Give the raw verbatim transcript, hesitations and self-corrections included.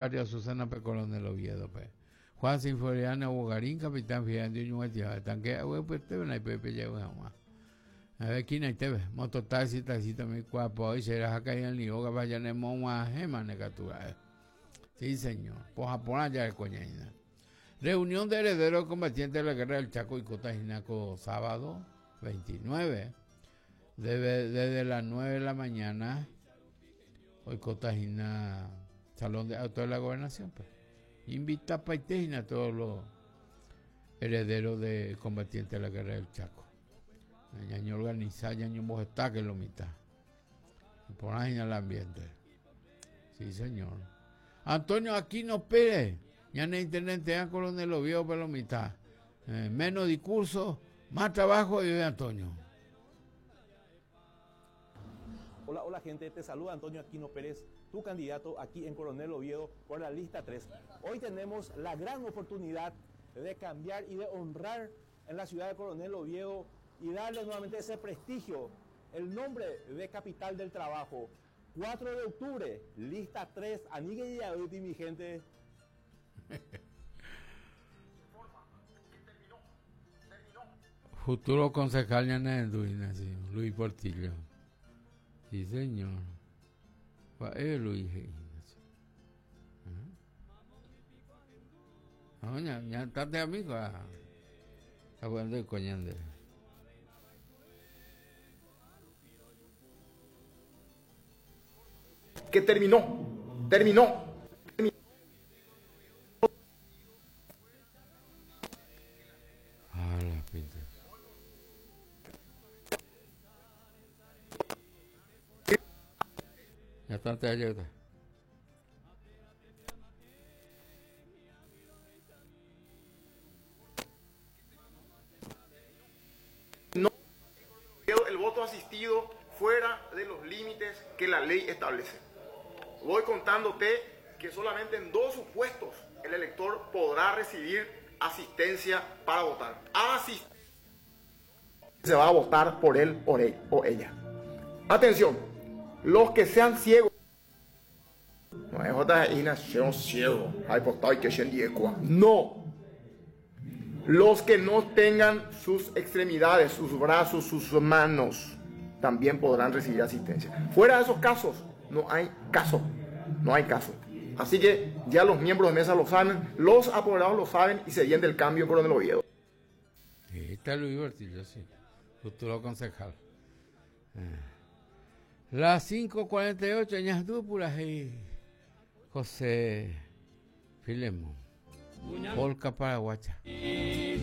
Barrio Susana P. Coronel Oviedo pe. Juan Sinforiano Bogarín, capitán Fiandio Ñuguatia, tanque agua pues te ven ahí pepe ya jamás. A ver quién ahí te ve, mototaxi, taxi también cuapo, y será acá en el yoga vaya ne moma gema ne captura. Sí, señor. Pues Japón ya el coñaina. Reunión de herederos combatientes de la guerra del Chaco y Cotajinaco, sábado veintinueve. Debe, desde las nueve de la mañana, hoy Cotajina, Salón de Auto de la Gobernación. Pues. Invita a Paitejina a todos los herederos de combatientes de la guerra del Chaco. Ñaño organiza, ñaño mojeta que lo mitad. Por ahí en el ambiente. Sí, señor. Antonio Aquino Pérez, ñane intendente de Coronel Oviedo, pero mitad. Eh, menos discurso, más trabajo y de Antonio. Hola, hola gente, te saluda Antonio Aquino Pérez, tu candidato aquí en Coronel Oviedo por la lista tres. Hoy tenemos la gran oportunidad de cambiar y de honrar en la ciudad de Coronel Oviedo y darle nuevamente ese prestigio, el nombre de capital del trabajo. cuatro de octubre, lista tres, Anigue y Yaduti, mi gente. Futuro concejal Ñanenduina, sí, Luis Portillo. Sí, señor. Va Luis. No, ya, ya está de amigo. Está jugando el coñande. Que terminó, terminó. terminó. Ah, la pinta. Ya está, te ayuda. No, el voto asistido fuera de los límites que la ley establece. Voy contándote que solamente en dos supuestos el elector podrá recibir asistencia para votar. Asist- Se va a votar por él o él o ella. Atención, los que sean ciegos. No es otra nación ciego. No. Los que no tengan sus extremidades, sus brazos, sus manos, también podrán recibir asistencia. Fuera de esos casos, no hay caso, no hay caso. Así que ya los miembros de mesa lo saben, los apoderados lo saben y se viene del cambio en Coronel Oviedo. Está Luis Portillo, sí, futuro concejal. Eh. Las cinco cuarenta y ocho, Ñasdúpulas y José Filemón. Polka paraguacha.